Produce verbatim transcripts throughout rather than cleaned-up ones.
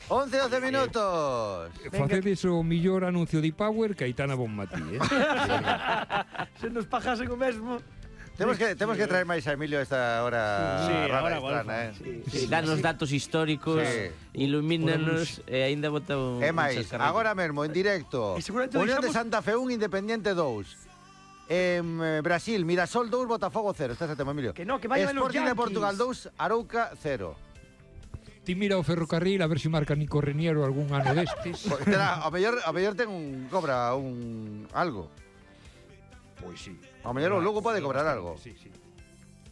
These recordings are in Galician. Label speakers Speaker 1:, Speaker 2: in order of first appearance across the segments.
Speaker 1: once, doce minutos.
Speaker 2: Facedes o millor anuncio de Power que Aitana Bonmatí, eh?
Speaker 3: Se nos pajasen o mesmo.
Speaker 1: Temos que, temos que traer máis a Emilio a esta hora.
Speaker 4: Sí,
Speaker 1: rara
Speaker 4: ahora
Speaker 1: extrana,
Speaker 4: golfa.
Speaker 1: eh?
Speaker 3: Sí,
Speaker 5: Sí,
Speaker 3: sí,
Speaker 5: danos
Speaker 3: sí.
Speaker 5: datos históricos,
Speaker 1: Sí.
Speaker 5: ilumínanos e aínda bota un...
Speaker 1: É
Speaker 5: un
Speaker 1: máis,
Speaker 5: chascarrillo.
Speaker 1: agora mesmo, en directo.
Speaker 3: E seguramente
Speaker 1: Unión de
Speaker 3: deixamos-
Speaker 1: Santa Fe un, Independiente dous. En eh, Brasil, Mirasol dous, Botafogo cero. Estás a tema, Emilio.
Speaker 3: Que no, que vayan los
Speaker 1: Sporting de
Speaker 3: Yankees.
Speaker 1: Portugal dous, Arouca cero.
Speaker 2: Ti mira o ferrocarril a ver se marca Nico Reniero algún ano destes.
Speaker 1: Pois terá, ao mellor, ao mellor ten un cobra un algo.
Speaker 2: Pois sí.
Speaker 1: Ao mellor o Lugo pode cobrar algo.
Speaker 2: Sí, sí.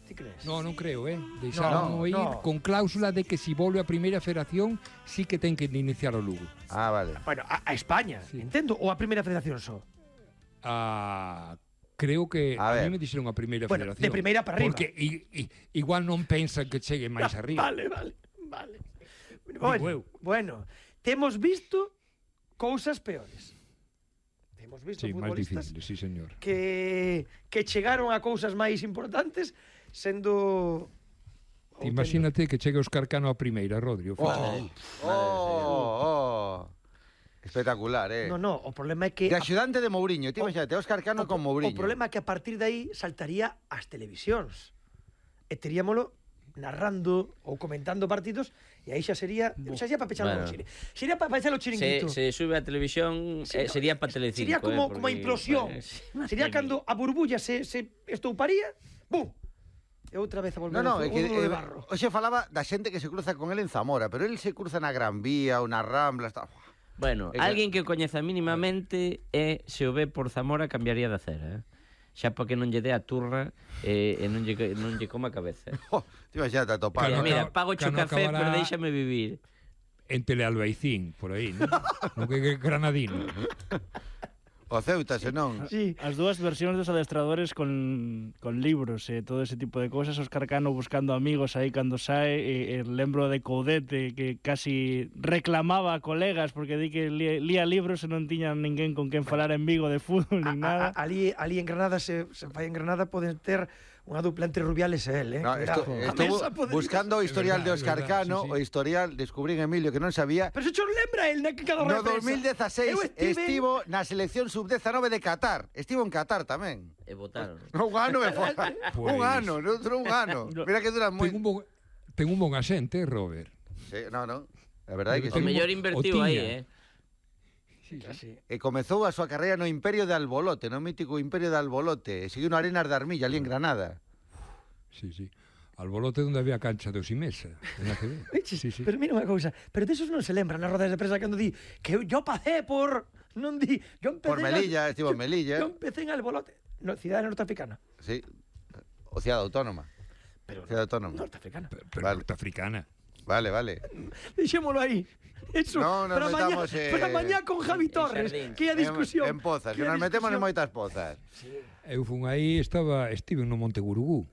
Speaker 3: Ti crees?
Speaker 2: No, non creo, eh? Deixaron
Speaker 3: No,
Speaker 2: ir
Speaker 3: no.
Speaker 2: con cláusula de que si volve a primeira federación sí que ten que iniciar o Lugo.
Speaker 1: Ah, vale.
Speaker 3: Bueno, a, a España,
Speaker 2: Sí.
Speaker 3: entendo, ou a primeira federación só.
Speaker 2: Ah, creo que
Speaker 1: A
Speaker 2: a,
Speaker 1: ver.
Speaker 2: mí me dixeron a primeira
Speaker 3: Bueno,
Speaker 2: federación.
Speaker 3: de primeira para arriba.
Speaker 2: Porque i, i, igual non pensan que chegue máis arriba.
Speaker 3: Vale, vale, vale.
Speaker 2: Digo eu.
Speaker 3: Bueno, bueno, temos visto cousas peores. Temos visto
Speaker 2: Sí, máis
Speaker 3: futbolistas
Speaker 2: difícil, sí, señor.
Speaker 3: que que chegaron a cousas máis importantes sendo
Speaker 2: Ti imagínate que chegue Óscar Cano a primeira, Rodri. O
Speaker 1: Oh,
Speaker 2: fútbol.
Speaker 1: oh, oh. Espectacular, eh.
Speaker 3: No, no, o problema é que
Speaker 1: De axudante de Mourinho, ti
Speaker 3: O-
Speaker 1: imagínate, Óscar Cano
Speaker 3: o,
Speaker 1: con Mourinho.
Speaker 3: O problema é que a partir de aí saltaría ás televisións. E teríamolo narrando ou comentando partidos e aí xa sería, xa sería para pechar
Speaker 5: Bueno.
Speaker 3: o chiri. Sería para pechar o
Speaker 5: Se,
Speaker 3: chiringuito.
Speaker 5: se sube a televisión,
Speaker 3: Sí,
Speaker 5: eh,
Speaker 3: no,
Speaker 5: sería para Telecinco.
Speaker 3: Sería como,
Speaker 5: eh,
Speaker 3: como a
Speaker 5: porque-
Speaker 3: implosión.
Speaker 5: Pues,
Speaker 3: Sería cando a burbulla se, se estouparía, ¡bum! E outra vez a volver
Speaker 1: No, no,
Speaker 3: ao
Speaker 1: é que
Speaker 3: fútbol de
Speaker 1: eh,
Speaker 3: barro.
Speaker 1: hoxe falaba da xente que se cruza con el en Zamora, pero el se cruza na Gran Vía ou na Rambla, está...
Speaker 5: Bueno,
Speaker 1: É que-
Speaker 5: alguén que o coñeza mínimamente é, se o ve por Zamora, cambiaría de acera, eh? Xa para que non lle dé a turra e, e non, lle, non lle coma a cabeza.
Speaker 1: Oh, ti imagínate a topar.
Speaker 5: Mira,
Speaker 2: Cano
Speaker 5: mira,
Speaker 2: acaba-
Speaker 5: pago cho
Speaker 2: Cano
Speaker 5: café,
Speaker 2: acabará-
Speaker 5: pero déixame vivir.
Speaker 2: En Telealbaicín, por aí, non? Non que que Granadino.
Speaker 1: O Ceuta, senón.
Speaker 3: Sí.
Speaker 4: As dúas versións dos adestradores con, con libros e todo ese tipo de cosas. Óscar Cano buscando amigos aí cando sae, e, e lembro de Coudete que casi reclamaba a colegas porque di que lía, lía libros e non tiña ninguén con quen falar en Vigo de fútbol nin
Speaker 3: A- a-
Speaker 4: nada.
Speaker 3: ali, ali en Granada se, se fai en Granada poden ter unha dupla entre Rubiales e él, eh?
Speaker 1: No, esto,
Speaker 3: Cuidado.
Speaker 1: estuvo
Speaker 3: A mesa podría-
Speaker 1: buscando o historial
Speaker 2: É verdad,
Speaker 1: de Óscar
Speaker 2: é verdad,
Speaker 1: Cano,
Speaker 2: sí, sí.
Speaker 1: o historial, descubrín Emilio que non sabía.
Speaker 3: Pero se cho lembra el na que cada
Speaker 1: No
Speaker 3: reprensa.
Speaker 1: dos mil dieciséis
Speaker 3: Eu estive-
Speaker 1: estivo na selección sub diecinueve de Qatar. Estivo en Qatar tamén.
Speaker 5: E votaron.
Speaker 1: Un ano me foi.
Speaker 2: Pues-
Speaker 1: Un ano, outro un ano. Mira que duran moi...
Speaker 2: Ten un bon, ten un bon asente, Robert.
Speaker 1: Sí, no, no. A verdade é que
Speaker 5: O
Speaker 2: Ten
Speaker 1: sí.
Speaker 2: un
Speaker 5: mellor
Speaker 2: bo-
Speaker 5: invertiu
Speaker 2: o
Speaker 5: aí,
Speaker 2: tiña.
Speaker 5: eh?
Speaker 2: Sí,
Speaker 3: Sí.
Speaker 1: E comezou a súa carreira no Imperio de Albolote, no mítico Imperio de Albolote. E seguiu no Arenas de Armilla, ali en Granada.
Speaker 2: sí, sí. Albolote onde había cancha de Osimesa. En A C B.
Speaker 3: Eches,
Speaker 2: Sí, sí.
Speaker 3: Pero mira unha cousa, pero desos non se lembran nas rodas de prensa cando di que eu pasé por, non di, yo empecé
Speaker 1: Por
Speaker 3: en
Speaker 1: Melilla,
Speaker 3: Al-
Speaker 1: estivo en
Speaker 3: yo-
Speaker 1: Melilla.
Speaker 3: Yo empecé en Albolote, no, cidade norteafricana.
Speaker 1: Sí. O Cidade Autónoma.
Speaker 3: Pero
Speaker 1: Cidade Autónoma.
Speaker 3: norteafricana.
Speaker 2: Pero, pero
Speaker 1: Vale.
Speaker 2: norteafricana.
Speaker 1: Vale, vale.
Speaker 3: Deixémolo aí. Eso,
Speaker 1: No, nos
Speaker 3: para mañá,
Speaker 1: metamos, eh,
Speaker 3: para mañá con Javi
Speaker 5: en
Speaker 3: Torres,
Speaker 5: Xardín.
Speaker 3: que é a discusión.
Speaker 1: En, en pozas, que
Speaker 3: é a
Speaker 1: nos metemos en
Speaker 3: discusión.
Speaker 1: moitas pozas.
Speaker 2: Eu fun aí, estaba, estive no Monte Gurugú.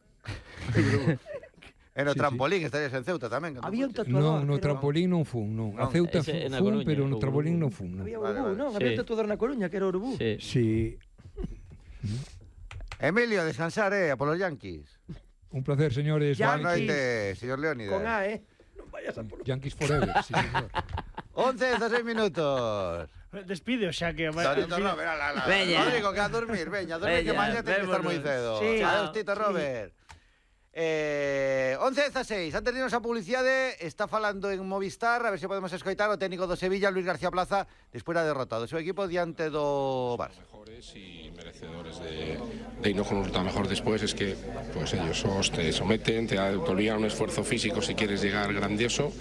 Speaker 1: E no
Speaker 2: Sí,
Speaker 1: trampolín estarías en Ceuta tamén. cando
Speaker 3: Había un
Speaker 1: fuches.
Speaker 3: tatuador.
Speaker 2: Non, no
Speaker 3: pero-
Speaker 2: trampolín non fun, non. A
Speaker 1: Non,
Speaker 2: Ceuta
Speaker 5: ese é
Speaker 2: fun,
Speaker 5: na
Speaker 2: fun
Speaker 5: Coruña,
Speaker 2: pero no
Speaker 5: o
Speaker 2: trampolín
Speaker 5: Gurugú.
Speaker 2: non fun, non.
Speaker 3: Había
Speaker 1: Vale,
Speaker 3: Urubú,
Speaker 1: vale.
Speaker 3: non?
Speaker 5: Sí.
Speaker 3: Había un tatuador na Coruña que era Urubú.
Speaker 5: Sí.
Speaker 2: Sí,
Speaker 1: Emilio, descansar, eh, a polos Yankees.
Speaker 2: un placer, señores.
Speaker 3: Ya.
Speaker 1: Boa
Speaker 3: Yankees.
Speaker 1: noite, señor Leónidas.
Speaker 3: Con A, eh? Non vayas a por...
Speaker 2: Yankees forever, sí, señor.
Speaker 1: once, dieciséis minutos.
Speaker 4: Despide, o xa que...
Speaker 1: Tito Robert, ala, ala.
Speaker 5: Veña.
Speaker 1: Rodrigo, que a dormir, veña, a dormir que
Speaker 5: Veña,
Speaker 1: mañá ten que estar moi
Speaker 5: vémonos.
Speaker 1: cedo.
Speaker 3: Sí.
Speaker 1: Adeus, Tito
Speaker 3: Sí.
Speaker 1: Robert. Eh, once dieciséis, antes de irnos a publicidade, está falando en Movistar, a ver se podemos escoitar o técnico do Sevilla, Luis García Plaza, despois da derrota do seu equipo diante do Barça.
Speaker 6: Mejores y merecedores de, de irnos con un resultado mejor después es que pues ellos os te someten, te, te obligan a un esfuerzo físico si quieres llegar grandioso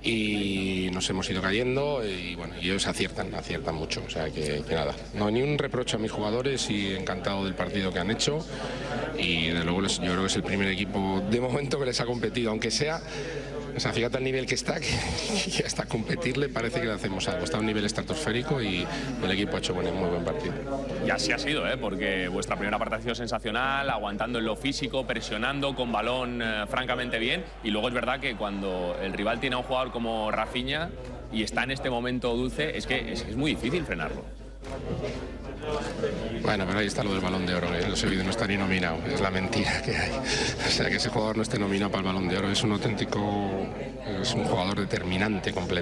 Speaker 6: y nos hemos ido cayendo y bueno, y ellos aciertan, aciertan mucho, o sea que, que nada, no hay ni un reproche a mis jugadores y encantado del partido que han hecho y desde luego les- yo creo que es el primer equipo de momento que les ha competido, aunque sea. O sea, fíjate el nivel que está, que, que hasta competirle parece que le hacemos algo. Está a un nivel estratosférico y el equipo ha hecho buen, muy buen partido.
Speaker 7: Y así ha sido, ¿eh? Porque vuestra primera parte ha sido sensacional, aguantando en lo físico, presionando con balón eh, francamente bien. Y luego es verdad que cuando el rival tiene a un jugador como Rafinha y está en este momento dulce, es que es, es muy difícil frenarlo.
Speaker 6: Bueno, pero ahí está lo del Balón de Oro, que ese vídeo no está ni nominado, es la mentira que hay. O sea, que ese jugador no esté nominado para el Balón de Oro es un auténtico, es un jugador determinante completamente.